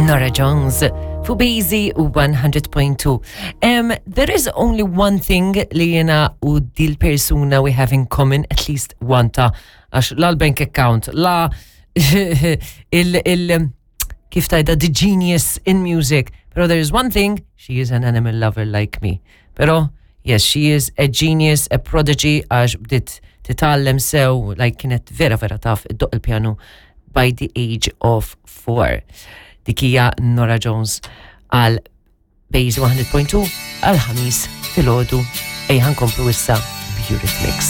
Norah Jones fu Bazy 100.2. There is only one thing li jena u dil persuna we have in common, at least one ta' għax la l-bank account, la il, il kif tajda the genius in music. Pero there is one thing, she is an animal lover like me. Pero yes, she is a genius, a prodigy, għax bdiet titgħallem sew, like kienet vera vera taf iddoq il-pjanu by the age of 4. Dik hija Norah Jones għal Base 100.2 għal ħamis filgħodu ejja nkomplu issa Eurythmics.